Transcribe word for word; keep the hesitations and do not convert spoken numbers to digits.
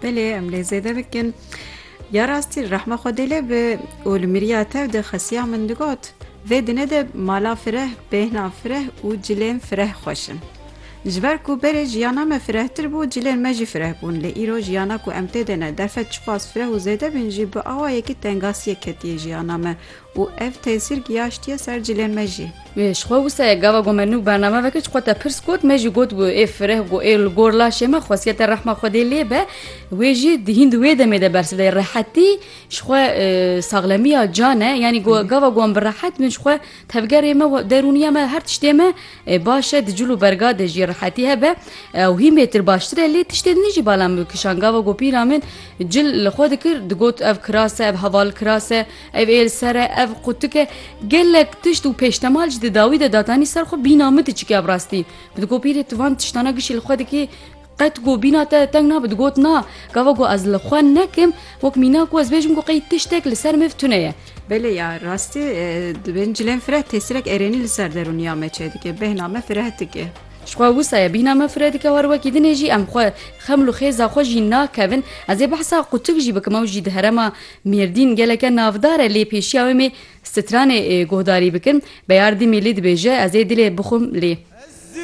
Belê, em lê zêde bikin. Ya rastî, rehma Xwedê lê be, û li miriya tev de xesiya min digot, vê dinê de mala fireh, bêhna fireh û cilên fireh xweş in. Ji ber ku berê jiyana me firehtir bû, cilên me jî fireh bûn. Lê îro jiyana ku em tê de ne, derfet çiqas fireh û zêde bin jî, bi awayekî tengasiyê ketiye jiyana me û ev tesîr giyaştiye ser cilên me jî. Ê, ji xwe wisa ye, gava ku me nû bername vekir, ji xwe te pirs got, me jî got bû, ê fireh ku ê li gor laşê me, xwesiye te rehma Xwedê lê be, wê jî di hîn di wê demê de bersiv de. Rehetî ji xwe, e, saxlemiya can e, yanî ku gava ku em bi rehet bin, ji xwe tevgerê me, we-, derûniya me, her tiştê me, e, baş e, di cil û berga de jî rehetî hebe, e, û hîn bêtir baştir e, lê tiştê din jî bala min bikişan. Gava ku pîra min cil li xwe dikir, digot, ev kiras e, ev heval kiras e, ev ê li ser e, ev qutik e. Gelek tişt û pêştemal jî di dawî de datanî ser xwe, bîna min diçikî ev rastî. Bi digot, pîrê, tu van tiştana gişî li xwe dikî, qet ku bîna te teng nabe? Digot, na, gava ku ez li xwe nekim, wek mîna ku ez bêjim ku qey tiştek li ser min tune ye. Belê ya, rastî, e, di bin cilên fireh tesîrek erênî li ser derûniya me çêdike, bêhna me fireh dike. Ji xwe wisa ye, bîhna me fireh dike, her wekî dinê jî em xwe xeml û xêza xwe jî nakevin. Ez ê behsa qutik jî bikim, ew jî di herêma Mêrdîn geleke navdar e, lê pêşiya wê mê stranê, e, guhdarî bikin. Beyar Dimîlî dibêje, ez ê dilê bixwim lê.